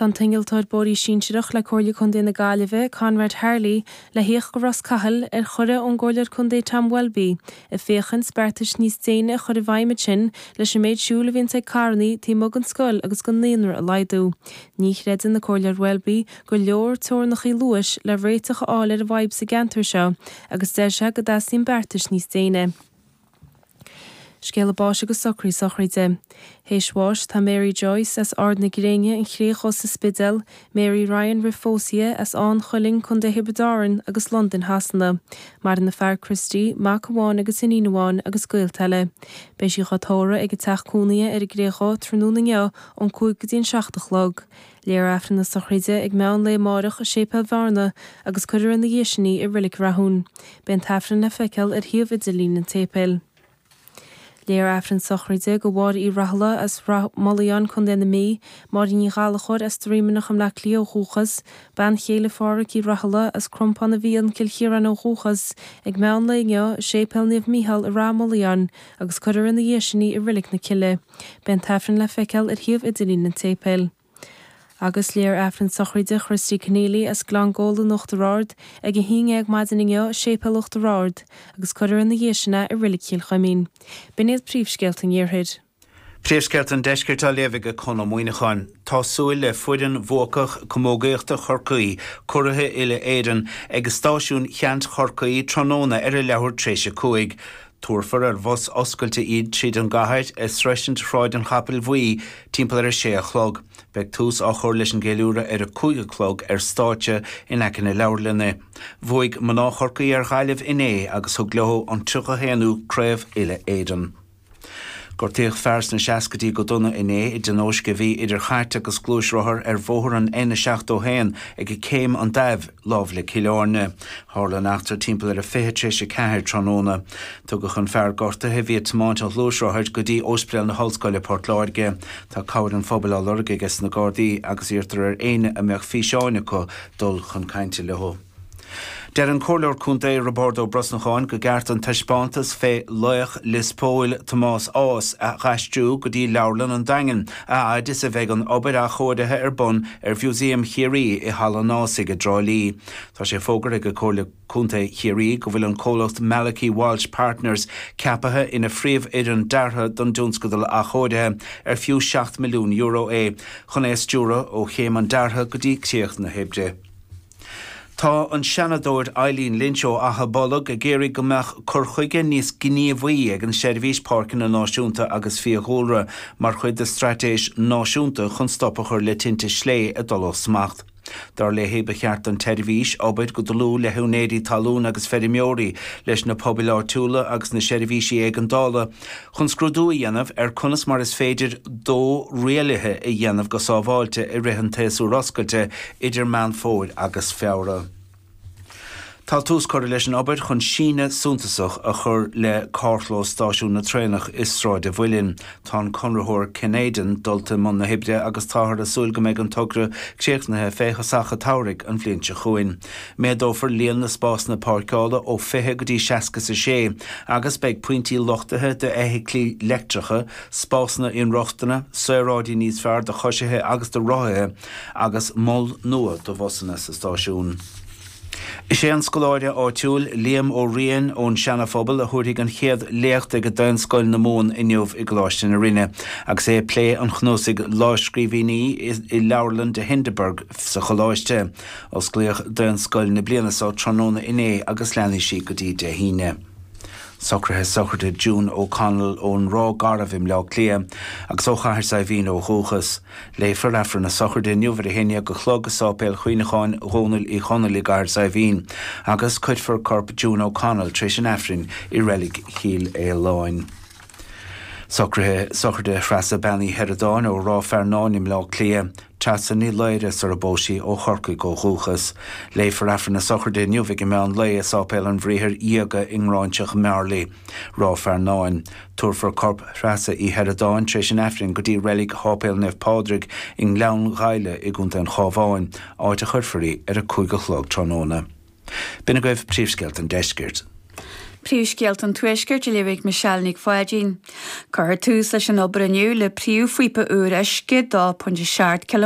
Tá an t-innealtóir bóithrí sinsearach le Comhairle Contae na Gaillimhe, Conrad Harley, le thíocht go Ros Cathail ar chuireadh ón gComhairleoir Contae Tom Welby, ag féachaint beartais níos déine a chur i bhfeidhm ansin leis an méid siúil a bhíonns ag carrannaí taobh amuigh den scoil agus den naíonra a laghdú. Ní chreideann an Comhairleoir Welby gur leor teorainneacha luais le réiteach a fháil ar an bhfadhb sa gceantar seo agus deir sé go dteastaíonn beartais níos déine. Scéala báis agus socruithe sochraide. Théis bháis tá Mary Joyce as Ard na Gréine, An Chré Dhubh sa Spidéal, Mary Ryan roimh phósadh as Áth an Chuilinn, Co. Thiobraid Árann agus Londain Shasana. Maireann a fear Christy, mac amháin agus iníon amháin agus gaolta eile. Beidh sí dhá tórramh ag a teach cónaithe ar an gCré Dhubh tráthnóna inniu ón 5 go dtí an 7 a chlog. Léifear Aifreann na sochraide ag meán lae amáireach i Séipéal Bhearna agus cuirfear ina dhiaidh sin í i Reilig Rathún. Beidh an tAifreann le feiceáil ar shuíomh idirlín an tséipéil. Léifear Aifreann sochraide do Mháire Uí Rathaille as Rath Moliain, Co. na Mí, Máirín Ní Ghallchóir as Droimeanach i mBleá Cliath ó dhúchas, bean chéile Phádhraic Uí Rathaille as Crompán an bhFiann, Cill Chiaráin ó dhúchas, ag meán lae inniu i Séipéal Naomh Mícheál i Rath Moliain agus cuirfear ina dhiaidh sin í i Reilig na Cille. Beidh an tAifreann le feiceáil ar shuíomh idirlín an tséipéil. Agus léifear Aifreann sochraide Christy Conneely as Gleann Gabhla in Uachtar Ard ag a haon dhéag maidin inniu i Séipéal Uachtar Ard agus cuirfear ina dhiaidh sin é i Reilig Chill Chuimín. B'in iad príomhscéalta an Iarthair. Príomhscéalta an Deiscirt á léamh ag Conn Ó Muíneacháin. Tá súil le foireann bhuacach camógaíochta Chorcaí, curaithe uile-Éireann, ag Stáisiún Cheannt Chorcaí tráthnóna ar a leathuair tar éis 5. Tabharfar ar bhus oscailte iad tríd an gcathair ag sroisint Shráid an Chapaill Bhuí timpeall ar a sé a chlog. Beidh tús á chur leis an gceiliúradh ar a 5 a chlog ar stáitse in aice na leabharlainne. Bhuaigh mná Chorcaí ar Ghaillimh inné agus thug leo an 31ú Craobh Uile-Éireann. Gortaíodh fear sna seascaidí go dona inné i dtionóisc a bhí idir chairt agus gluaisrothar ar bhóthar an N71 ag Céim an Daimh, lámh le Cill Airne. Tharla an eachtra timpeall ar a 20 tar éis 4 tráthnóna. Tugadh an fear gortaithe, a bhí ag tiomáint an ghluaisrothair, go dtí Ospidéal na hOllscoile, Port Láirge. Tá cabhair an phobail á lorg aige sna Gardaí agus iarrtar ar éinne a mbeadh físeáin acu dul chun cainte leo. Deir an Comhairleoir Contae Roibeárd Ó Brosnacháin go gceart an taispeántas fé laoch Lios Póil Tomás Ághas a dh'aistriú go dtí Leabharlann an Daingin a fhaid is a bheidh an obair athchóirithe ar bun ar Mhúsaem Chiarraí i Halla an Ághasaigh i dTrá Lí. Tá sé fógartha ag Comhairle Contae Chiarraí go bhfuil an comhlacht Malachy Walsh Partners ceapaithe ina phríomhfhoireann deartha don dtionscadal athchóirithe, ar fiú €7 milliún é, chun é a stiúradh ó chéim an deartha go dtí críoch na hoibre. Tá an Seanadóir Eileen Lynch ó Achadh Bolg ag iarraidh go mbeadh cur chuige níos gníomhaí ag an Seirbhís Páirceanna Náisiúnta agus Fiadhúlra mar chuid de straitéis náisiúnta chun stop a chur le tinte slé ag dul ó smacht. Dar léi, ba cheart don tseirbhís obair go dlúth le húinéirí talún agus feirmeoirí, leis na pobail áitiúla agus na seirbhísí éigeandála chun scrúdú a dhéanamh ar conas mar is féidir dó rialaithe a dhéanamh go sábháilte i rith an tséasúir oscailte idir Meán Fómhair agus Feabhra. Tá tús curtha leis an obair chun síneadh suntasach a chur le carrchlós stáisiún na traenach i Sráid a' Mhuilinn. Tá an conraitheoir Kenaidan dulta i mbun na hoibre agus táthar ag súil go mbeidh an togra críochnaithe fé thosach a' tsamhraidh an bhliain seo chugainn. Méadófar líon na spásanna páirceála ó 20 go dtí 66 agus beidh pointí luchtaithe d'fheithiclí leictreacha, spásanna inrochtana, saoráidí níos fearr do choisithe agus do rothaithe agus mol nua do bhusanna sa stáisiún. Is é an scoláire áitiúil Liam Ó Riain ón Seana-Phobal a thabharfaidh an chéad léacht ag Daonscoil na Mumhan inniu i gColáiste na Rinne agus é ag plé an chnuasaigh lámhscríbhinní i Leabharlann de Hindeberg sa choláiste. Osclaíodh Daonscoil na bliana seo tráthnóna inné agus leanfaidh sí go dtí Dé hAoine. Socruithe sochraide June O'Connell ón Ráth Garbh i mBleá Cliath agus ó Chathair Saidhbhín ó dhúchas. Léifear Aifreann na sochraide inniu ar a haon dhéag a chlog i Sáipéal Chuimhneacháin Dhónaill Uí Chonaill i gCathair Saidhbhín agus cuirfear corp June O'Connell tar éis an Aifrinn i Reilig Chill Fhaoláin. Socruithe sochraide Threasa Bean Uí Sheireadáin ó Ráth Fearnáin i mBleá Cliath, Treasa Ní Laoire sar a bpós sí ó Chorcaigh ó dhúchas. Léifear Aifreann na sochraide inniu ag an meán lae i Sáipéal an Bhriathair Dhiaga i nGráinseach Mhearlaí, Ráth Fearnáin. Tabharfar corp Threasa Uí Sheireadáin tar éis an Aifrinn go dtí reilig Sháipéal Naomh Pádraig i nGleann Ghaibhle i gContae an Chabháin, áit a chuirfear í ar a 5 a chlog tráthnóna. B'in agaibh príomhscéalta an deiscirt. Príomhscéalta an Tuaiscirt á léamh ag Michelle Nic Pháidín. Cuirfear tús leis an obair inniu le príomhphíopa úr uisce 2.7 km.